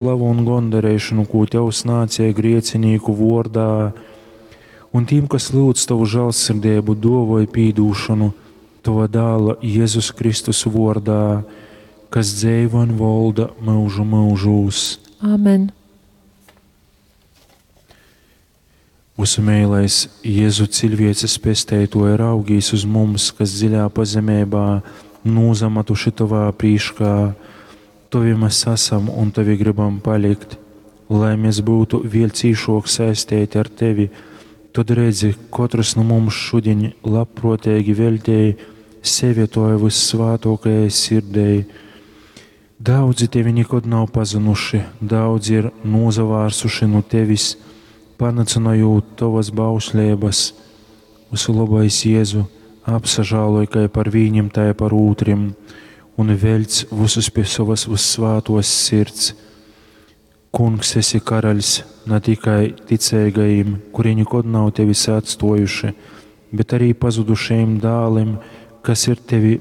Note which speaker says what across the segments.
Speaker 1: Slavu un gondareišonu, kū Tev snādzēja griecinīku vuordā, un tīm, kas lyudz Tovu žālsirdeibu, duovoj pīdūšonu Tova dāla Jezus Kristus vuordā, kas dzeivo un volda myužu myužūs.
Speaker 2: Āmen.
Speaker 1: Vysu meilais Jezu ciļvieces pesteituoja raugīs uz mums, kas dziļā pazemeibā nūzamatuši Tovā prīškā. Tovi mēs esam un Tovi gribam palikt, lai mēs būtu vēl cīšok saisteiti ar Tevi, tod redzi, kotrs nu mums šudiņ labprōteigi veļtej sevi Tovai vyssvātōkajai sirdei. Daudzi Tevi nikod nav pazynuši, daudzi ir nūsavārsuši nu Tevis, panycynojūt Tovas bausleibas. Vysulobais Jēzu, apsažāloj kai par vīnim, tai par ūtrim, un veļc vysus pie sovas vyssvātōs sirds. Kungs, esi karaļs na tikai ticeigajim, kuri nikod nav tevis atstojuši, bet arī pazudušajim dālim, kas, ir tevi,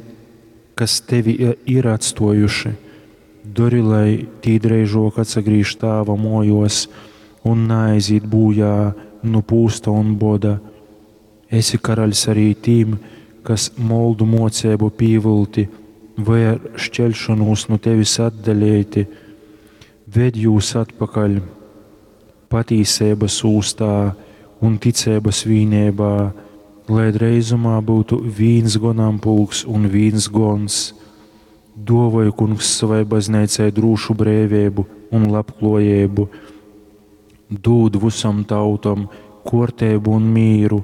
Speaker 1: kas tevi ir atstojuši. Dori, lai tī dreižok atsagrīž tāva mojos un neaiziet bojā nu pūsta un boda. Esi karaļs arī tīm, kas moldu mocību pīvilti vai ar šķelšanos no tevis atdalīti, ved jūs atpakaļ patīsības ūstā un ticības vīnībā, lai dreizumā būtu viens gonampulks un viens gons. Dovoj, kungs, savai baznīcai drūšu brīvību un labklājību, dūd visam tautam kārtību un mīru,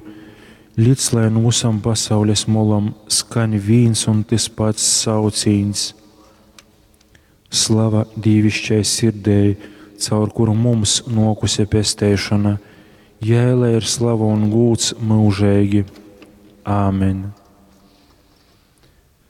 Speaker 1: līdz lai no visam pasaules molam skan viens un tas pats saucīns. Slava dīvišķai sirdēji, caur kuru mums nokuse pesteišana, jai lai ir slava un gūds mūžīgi. Āmen!